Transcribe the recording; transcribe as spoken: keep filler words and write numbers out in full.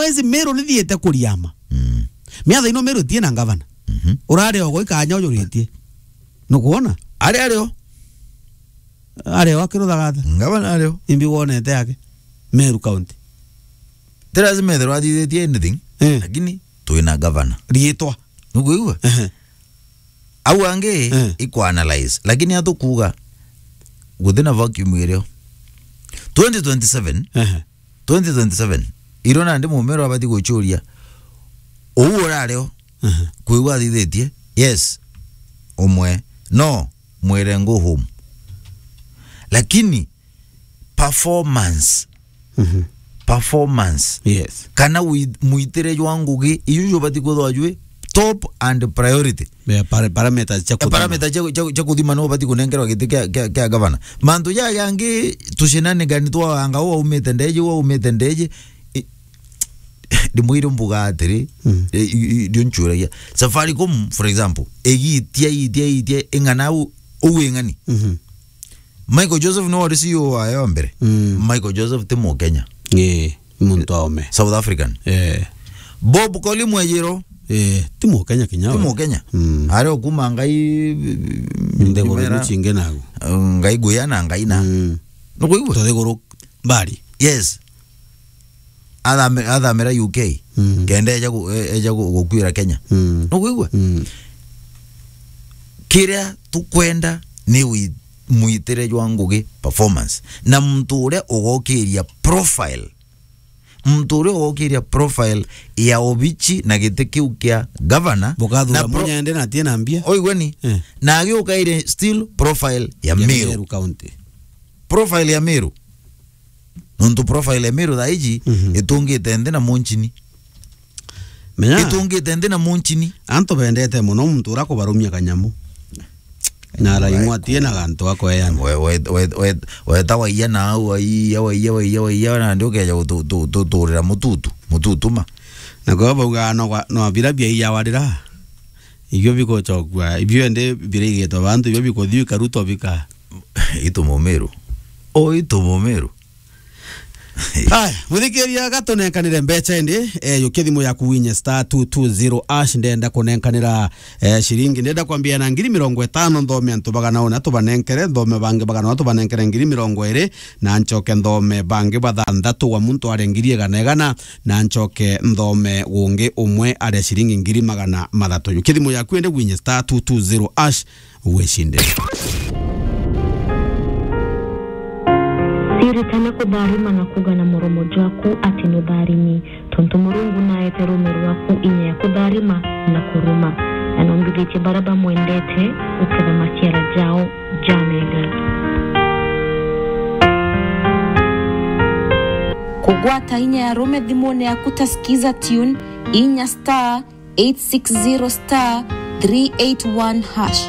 Ezi Meru nithiite kuriama. Mm. Miatha ino Meru itie na ngavana. Mhm. Urare ogo ikanya ujuritie. Nukuona? Ari ario. Ari o akiruthagatha. Ngavana ario. Imbi wonete yake? Meru County. Ti lazima ethirwa athithitie anything, eh, lakini twina ngavana. Riitwa. Nukuigua? Ehe. Au angi, eh, ikwa analyze, lakini atukuga guti na vacuum irio. Twenty twenty-seven, ehe, twenty twenty-seven, iro nandi mumero abati guchuria. Uu urario, ehe, kwigua athithitie, yes, umwe, no, mwire go home. Lakini performance. Mhm. Performance. Yes. Kana wi-, mwitire jwa ngugi, iju jubati kwithwa jwi top and priority. Yeah, para-, parameters cia, eh, kuthima, parameters cia, cia, cia kuthima no ubati kunengerwa giti kia, kia, kia gavana. Mantu ja yangi tucinanigani twa anga uu aumite ndeji, uu aumite ndeji. I-, ndimwire mbuga atiri, mm, i-, i-, i-, ndio nchuragia. Safaricom, for example, igitia, itia, itia, ing'ana u-, uu ing'ani. Mhm. Michael Joseph niwe wari C E O wayo wa mbere. Mm. Michael Joseph ti Mukenya. Ii, muntu wa ome. South African. Eh. Bob Koli Mwejiro. Eh, ti Mukenya kinya ti we. Mukenya. Mm. Ari o kuma Ngai, nthiguru Mbera, iu cingi nagu. Ngai Guya na Ngai na. Mm. Nukuigua? Tuthiguru mbari. Yes. Athame-, athamira U K. Mm. Kenda eja gu-, e-, eja gu-, gukwira Kenya. Mm. Nukwigua? Mm. Kiria tukwenda ni wi-, mwitire jwa ngugi performance. Na muntu uria ugokiria profile. Muntu uria ugokiria profile ya obichi na giti kiu kia governor. Bukathura na pro-, munyende na atie na mbia. Oigwe ni? Eh. Na agiukaire still profile ya, ya Meru. Meru County. Profile ya Meru. Nontu profile ya Meru thaa iji, mhm, itungite nthi na munchini. Menya, itungite nthi na munchini. Antu bendete muno muntu ura kubarumia kanyamu. Na araimwa atie na gantu akoeana. We, we, we, we, weta waiya na au, waiya, waiya, waiya, waiya, na ndi ukeja gutu-, tu-, tu-, tuturira mututu, mututuma. Na kwa bauga no gwa-, no bira bia iya warira. Ibio bigucokua, ibio ende birigitwe bantu, ibio bikuthii bikaruto bika. Itu mumiru. O itu mumiru. Aya, muthikiria, gatunenkanire mbecha indi, eh, yukia thimu yaku winye star two two zero hash, ndenda kunenkanira, eh, shiringi. Ndenda kwambia na ngiri mirongo itano, nthome antu bagana una tubanenkere, nthome bangi bagana una tubanenkere ngiri mirongo iri, na nchoke nthome bangi bathanthatu wa muntu aria ngiri igana igana, na nchoke nthome gungi umwe aria shiringi ngiri magana mathatu. Yukia thimu yaku indi winye star two two zero hash, wicinde. Ciritana kutharima na kuuga na muromo jwaku ati nutharimi, tontu Murungu naete ruume rwaku inya ya kutharima na kuruma, na nombithitie baria bamwendete guketha maciara jao ja mega. Kugwata inya ya ruume thimune yaku ta Skiza Tune, inya star eight six zero star three eight one hash.